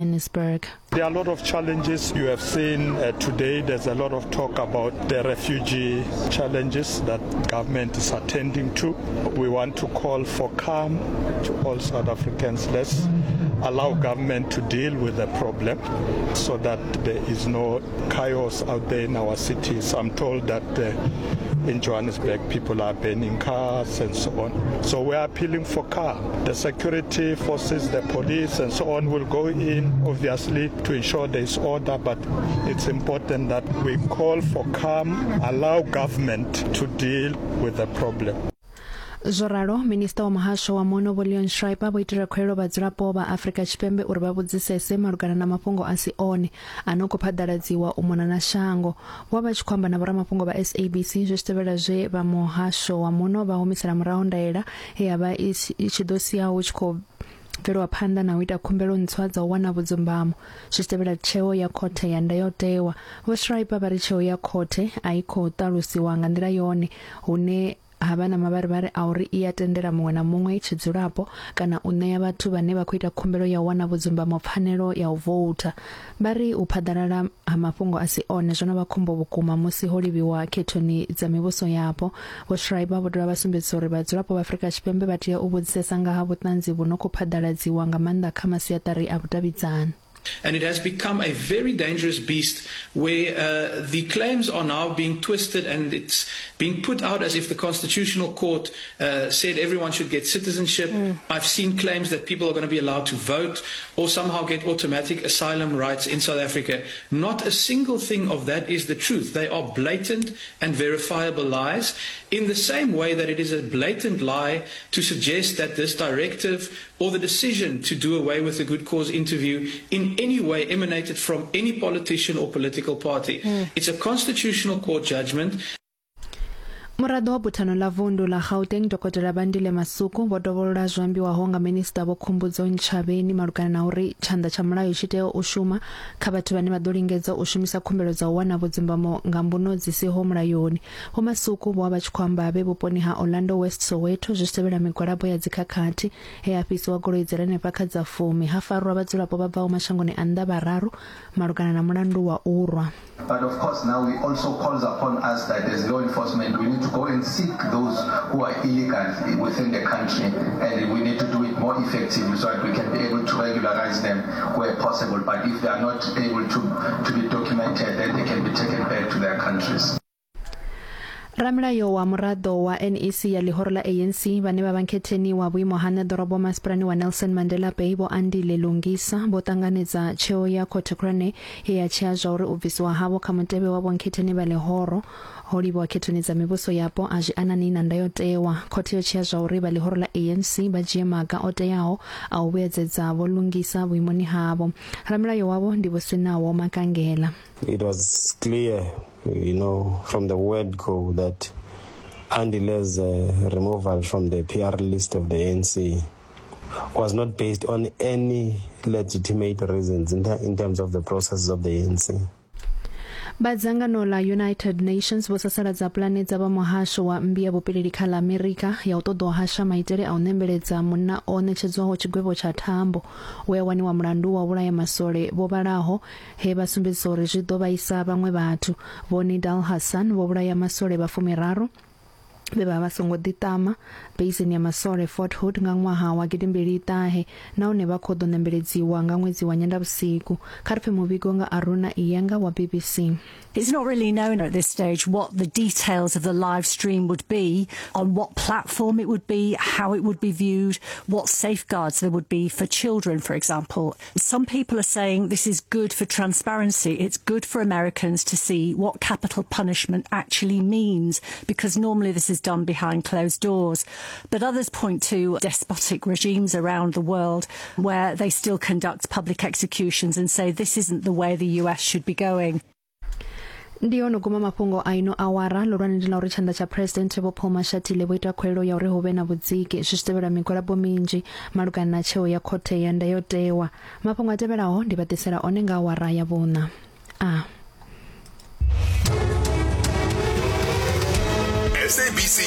Johannesburg. There are a lot of challenges you have seen uh, today. There's a lot of talk about the refugee challenges that government is attending to. We want to call for calm to all South Africans. Let's allow government to deal with the problem so that there is no chaos out there in our cities. I'm told that uh, in Johannesburg people are burning cars and so on. So we are appealing for calm. The security forces, the police and so on will go in obviously to ensure there is order, but it's important that we call for calm, allow government to deal with the problem. Zwo ralo, Minisiṱa wa Muhasho wa Muno Vho Leon Schreiber vho itela khuwelelo vhadzulapo vha Afrika Tshipembe uri vha vhudzisese malugana na mafhungo a si one a no khou phaḓaladziwa u mona na shango. Vho vha vha tshi khou amba na vhoramafhungo vha SABC zwi tshi tevhela zwe vha muhasho wa muno vha humisela murahu ndaela ye ya vha i tshi ḓo sia hu tshi khou bvelwa phanḓa na u ita khumbelo ntswa dza u wana vhudzumbamo zwi tshi tevhela tsheo ya khothe ya ndayotewa. Vho Schreiber vha ri tsheo ya khothe a i khou ṱalusiwa nga nḓila yone hune ha vha na mavharivhari a uri i a tendela muṅwe na muṅwe tshidzulapo kana u ṋea vhathu vhane vha khou ita khumbelo ya u wana vhudzumbamo pfanelo ya u voutha. Vha ri u phaḓalala ha mafhungo a si one zwo no vha khombo vhukuma musi ho livhiwa khethoni dza mivhuso yapo. Vho Schreiber vho dovha vha sumbedzisa uri vhadzulapo vha Afrika Tshipembe vha tea u vhudzisesa nga ha vhuṱanzi vhu no khou phaḓaladziwa nga maanḓa kha masiaṱari a vhudavhidzani. And it has become a very dangerous beast where uh, the claims are now being twisted and it's being put out as if the Constitutional Court uh, said everyone should get citizenship. Mm. I've seen claims that people are going to be allowed to vote or somehow get automatic asylum rights in South Africa. Not a single thing of that is the truth. They are blatant and verifiable lies in the same way that it is a blatant lie to suggest that this directive or the decision to do away with the good cause interview in any way emanated from any politician or political party. Mm. It's a constitutional court judgment. Muraḓo wa buthano ḽa vundu ḽa Gauteng Dokotela Bandile Masuku vho dovholola zwo ambiwaho nga minisiṱa Vho Khumbudzo Ntshavheni malugana na uri tshanḓa tsha mulayo tshi tea u shuma kha vhathu vhane vha ḓo lingedza u shumisa khumbelo dza u wana vhudzumbamo nga mbuno dzi siho mulayoni. Vho Masuku vho vha vha tshi khou amba vhe vhuponi ha Orlando West Soweto zwi tshi tevhela migwalabo ya dzikhakhathi he ha fhisiwa goloi dzi re henefha kha dza fumi ha farwa vhadzulapo vha bvaho mashangoni a nnḓa vhararu malugana na mulandu wa u rwa. But of course now we also calls upon us that as law enforcement we need to go and seek those who are illegal within the country and we need to do it more effectively so that we can be able to regularize them where possible. But if they are not able to, to be documented, then they can be taken back to their countries. Ramilayo wa muraḓo wa NEC ya ḽihoro ḽa ANC vhane vha vha nkhetheni wa vhuimo ha ṋeḓorobo masipalani wa Nelson Mandela Bay Vho Andile Lungisa vho ṱanganedza tsheo ya khothe khulwane ye ya tshea zwa uri u bvisiwa havho kha mutevhe wa vhonkhetheni vha ḽihoro ho livhiwa khethoni dza mivhuso yapo a zwi anani na ndayotewa. Khothe yo tshea zwa uri vha ḽihoro ḽa ANC vha dzhie maga o teaho a u vhuedzedza Vho Lungisa vhuimoni havho. Ramilayo wavho ndi Vho Sinawo Makangela. It was clear, you know, from the word go that Andile's uh, removal from the PR list of the ANC was not based on any legitimate reasons in, in terms of the processes of the ANC. Vha dzangano ḽa United Nations vho sasaladza pulane dza vha muhasho wa mmbi ya vhupileli kha ḽa Amerika ya u ṱoḓa u hasha maitele a u ṋembeledza munna o ṋetshedzwaho tshigwevho tsha thambo we a waniwa mulandu wa u vhulaya masole vho vhalaho he vha sumbedzisa uri zwi ḓo vhaisa vhaṅwe vhathu. Vho Nidal Hassan vho vhulaya masole vha fumiraru vhe vha vha songo ḓiṱama beisini ya masole Fort Hood nga ṅwaha wa gidimbili ṱahe nahone vha khou ḓo ṋembeledziwa nga ṅwedzi wa Nyendavhusiku. Kha ri pfe muvhigo nga Aruna Iyengar wa BBC. It's not really known at this stage what the details of the live stream would be, on what platform it would be, how it would be viewed, what safeguards there would be for children, for example. Some people are saying this is good for transparency. It's good for Americans to see what capital punishment actually means, because normally this is done behind closed doors. But others point to despotic regimes around the world where they still conduct public executions and say this isn't the way the US should be going. Ndi yo no guma mafhungo a ino awara ḽihulwane ndi ḽa uri tshanḓa tsha Phresidennde Vho Paul Mashatile vho ita khuwelelo ya uri hu vhe na vhudziki zwi tshi tevhela migwalabo minzhi malugana na tsheo ya khothe ya ndayotewa. Mafhungo a tevhelaho ndi vha ḓisela one nga awara ya vhuṋa. A. SABC